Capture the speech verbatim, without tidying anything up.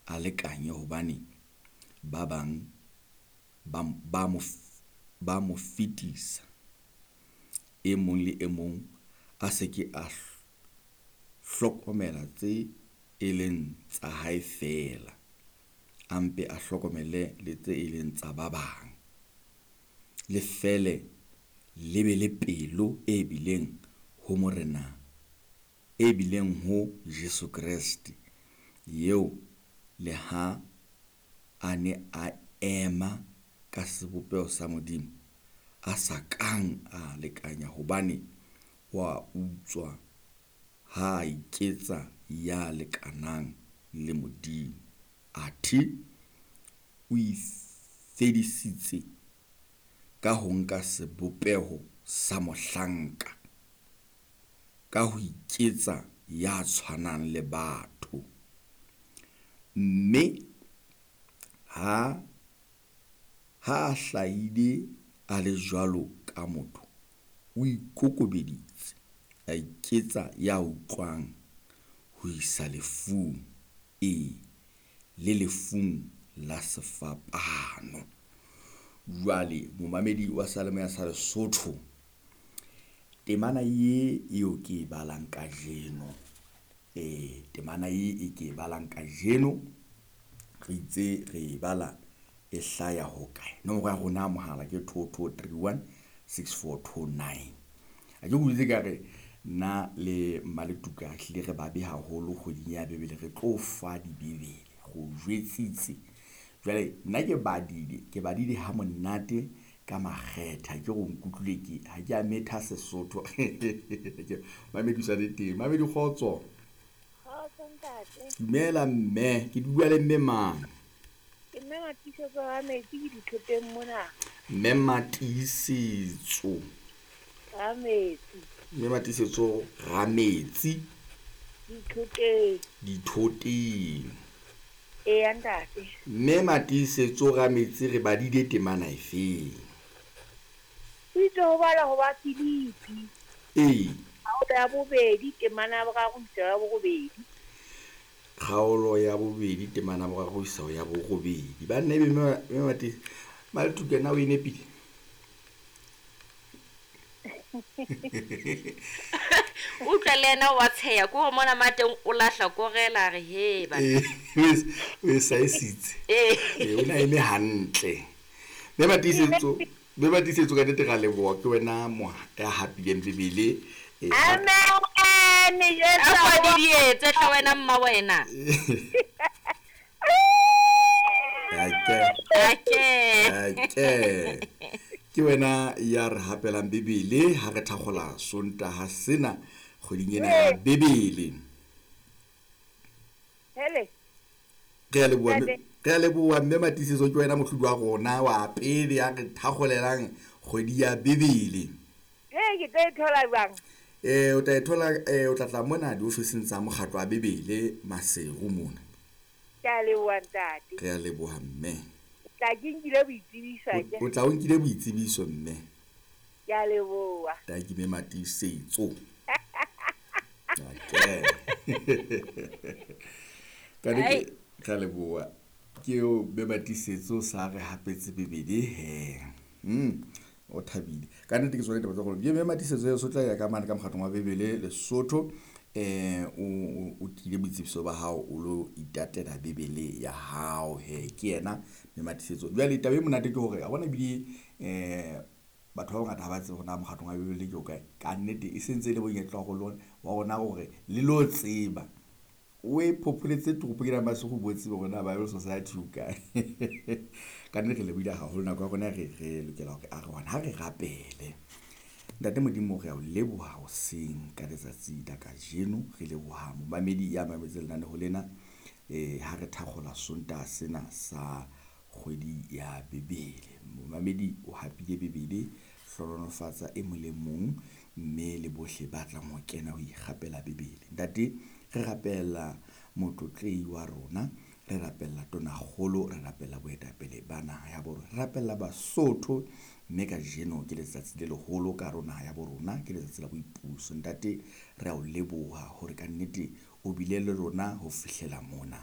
a lekanye hobane ba bang ba ba mo ba mo fetisa. E mong le e mong a se ke a hlokomela tse e leng tsa hae feela, a mpe a hlokomele le tse e leng tsa ba bang. Le fele le be le pelo e bileng ho Morena e bileng ho Jesu Kreste eo le ha a ne a ema ka sebopeho sa Modimo, a sa kang a lekanya hobane wa utswa ha a iketsa ya lekanang le Modimo. Athe o ifedisitse ka ho nka sebopeho sa mohlanka, ka ho iketsa ya tshwanang le batho. Mme ha ha a hlahile a le jwalo ka motho, o ikokobeditse, a iketsa ya utlwang ho isa lefung. E, le lefung la sefapano. Jwale momamedi wa seyalemoya sa Lesotho. Temana ye eo ke e balang kajeno temana e e ke e balang kajeno, re itse re e bala e hlaya hokae? Nomoro ya rona ya mohala ke two two three one six four two nine. Ha ke o ka re nna le Maletuka re hlile re babe haholo kgweding ya Bebele. Re tlo fa dibebele re o jwetsitse. Jwale nna ke badile ke badile ha monate ka makgethe. Ha ke re o nkutlwile ke ha ke a metha Sesotho. Mamedi o sa le teng. Mamedi kgotso. Kgotso ntate. Dumela mme, ke bua le mme mang? Ke mme Matiisetso Rametsi ke dithoteng mona. Mme Matiisetso. Rametsi. Mme Matiisetso Rametsi. Dithoteng. Dithoteng. Eya ntate. Mme Matiisetso Rametsi re badile temana efeng? O itse ho bala ho ba Filipi. Ee. Kgaolo ya bobedi temana ya boraro ho isa ya borobedi. Kgaolo ya bobedi temana ya boraro ho isa ya borobedi. Banna ebe mme mme Matiisetso Maletuka na o e nepile? Utlwa le yena wa tsheha ko mona mateng o lahla korela a re he ba. Eh, o e saesitse. Eh. Eh, o na eme hantle. Mme Matiisetso, mme Matiisetso ka nnete ra leboha ke wena mo ya hapileng Bebele. Eh, Amen. Jesu. A kwa di dietse hle wena mma wena. Ake. Ake. Ake. Ke wena ya re hapelang Bebele ha re thakgola Sontaha sena kgweding ena ya Bebele. Hele. Re a leboha mme, Ntate. re a leboha mme Matiisetso ke wena mohlodi wa rona wa pele ya re thakgolelang kgwedi ya Bebele. Ee, ke tlo e thola jwang? Eh, o tla e thola, eh, o tla tla mona diofising tsa mokgatlo wa Bebele Maseru mona. Ke a leboha ntate. Re a leboha mme. Tla ke nkile boitsebiso O- akere? O tla o nkile boitsebiso mme. Ke a leboha. Tanki mme Matiisetso. Okay. Ka nnete, re a leboha. Ke eo mme Matiisetso sa re hapetse Bebele he. Mm. O thabile. Ka nnete ke tsona ditaba tsa gore ke mme Matiisetso eo so tla ya ka mane ka mokgatlong wa Bebele Lesotho. Eh, o, o, o tlile boitsebiso ba hao o lo itatela Bebele ya hao he. Ke yena mme Matiisetso. Jwale taba e monate ke hore ha bona ebile eh batho ba bangata ha ba tsebe hore na mokgatlong wa Bebele ke o kae. Ka nnete e sentse e le monyetla wa rona wa rona hore le lo tseba. O e phopholetse toropong ena Maseru bo tsebe hore na Bible Society o kae. Ka nnete re lebohile haholo nako ya rona re, re lokela hore a re hona ha re rapele. Ntate Modimo re a o leboha hoseng ka letsatsi la kajeno. Re leboha momamedi ya mametseng lenaneo lena. Eh, ha re thakgola Sontaha sena sa kgwedi ya Bebele. Momamedi o hapile Bebele, hlohonolofatsa e mong le mong mme le bohle ba tlang ho kena ho ikgapela Bebele. Ntate, re rapella motlotlehi wa rona, re rapella tonakgolo, re rapella boetapele ba naha ya bo rona, re rapella Basotho mme kajeno ke letsatsi le leholo ka hare ho naha ya bo rona, ke letsatsi la boipuso. Ntate, re a o leboha hore kannete o bile le rona ho fihlela mona.